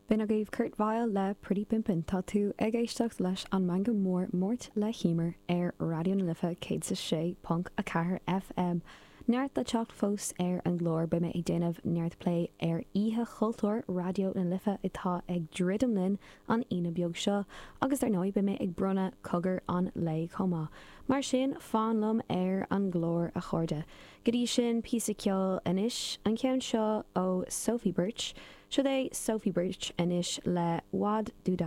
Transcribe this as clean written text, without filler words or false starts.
B'in agaibh Kurt Vile le Pretty Pimpin'. Tá tú ag éisteacht leis an Meangadh Mór Máirt le hEmer ar Raidió na Life 106.4 FM. Neart le teacht fós ar an gclár, beidh mé ag déanamh neart plé ar Oíche Chultúir Raidió na Life atá ag druidim linn an Aoine beag seo agus dar ndóigh beidh mé ag bronnadh Cogar an Lae chomh maith. Mar sin, fan liom ar an gclár a chairde. Go dtí sin, píosa ceoil anois, an ceann seo ó Sophie Birch. Seo é Sophie Birch anois le Wad Do.